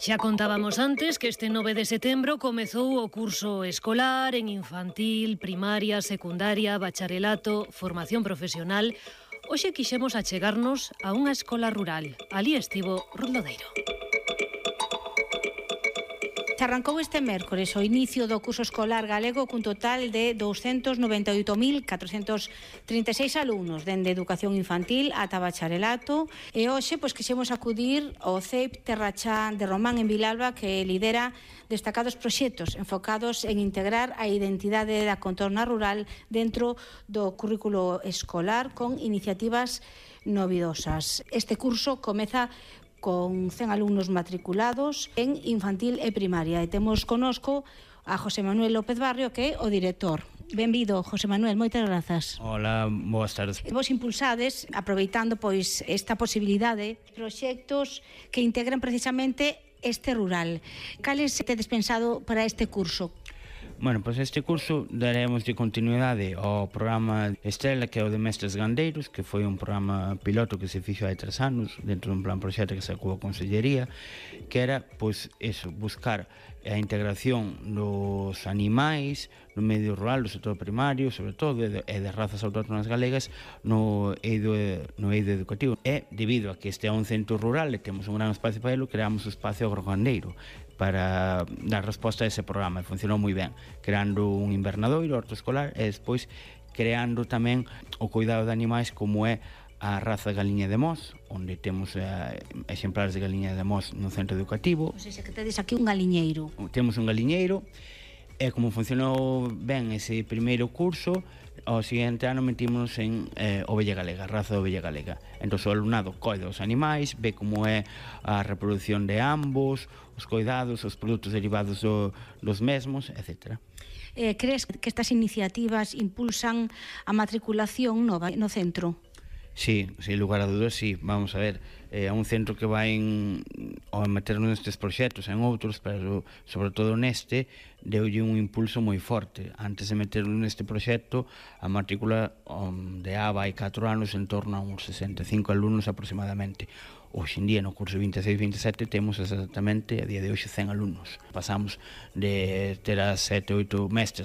Xa contábamos antes que este 9 de setembro comezou o curso escolar en infantil, primaria, secundaria, bacharelato, formación profesional. Hoxe quixemos achegarnos a unha escola rural. Ali estivo Ruth Lodeiro. Arrancou este mércores o inicio do curso escolar galego cun total de 298.436 alumnos, dende educación infantil ata bacharelato, e hoxe quixemos acudir ao CEIP Terrachá de Román en Vilalba, que lidera destacados proxectos enfocados en integrar a identidade da contorna rural dentro do currículo escolar con iniciativas novidosas. Este curso comeza con 100 alumnos matriculados en infantil e primaria. E temos conosco a José Manuel López Barrio, que é o director. Benvido, José Manuel, moitas grazas. Hola, boas tardes. Vos impulsades, aproveitando esta posibilidade, proxectos que integran precisamente este rural. Cales tedes pensado para este curso? Bueno, pois este curso daremos de continuidade ao programa Estrela, que é o de Mestres Gandeiros, que foi un programa piloto que se fixo hai 3 anos dentro dun plan proxecto que sacou a Consellería, que era, buscar a integración dos animais no medio rural, do sector primario, sobre todo, e das razas autóctonas galegas no eido educativo. E, debido a que este é un centro rural e temos un gran espacio para ele, creamos o espacio agrogandeiro para dar resposta a ese programa, e funcionou moi ben, creando un invernadoiro, horto escolar, e despois creando tamén o cuidado de animais como é a raza de galiña de Mos, onde temos exemplares de galiña de Mos no centro educativo. O sea, que tedes aquí un galiñeiro. Temos un galiñeiro, e como funcionou ben ese primeiro curso, ao seguinte ano metímonos en ovella galega, raza de ovella galega. Entón o alumnado coida os animais, ve como é a reproducción de ambos, os coidados, os produtos derivados dos mesmos, etc. Crees que estas iniciativas impulsan a matriculación nova no centro? Sí, sin lugar a dudas, sí. Vamos a ver, é un centro que vai ao meternos nestes proxectos, en outros, pero sobre todo neste, deulle un impulso moi forte. Antes de meternos neste proxecto, a matrícula de ABA hai 4 anos en torno a uns 65 alumnos aproximadamente. Hoxe en día, no curso 26-27, temos exactamente, a día de hoxe, 100 alumnos. Pasamos de ter a 7-8 mestres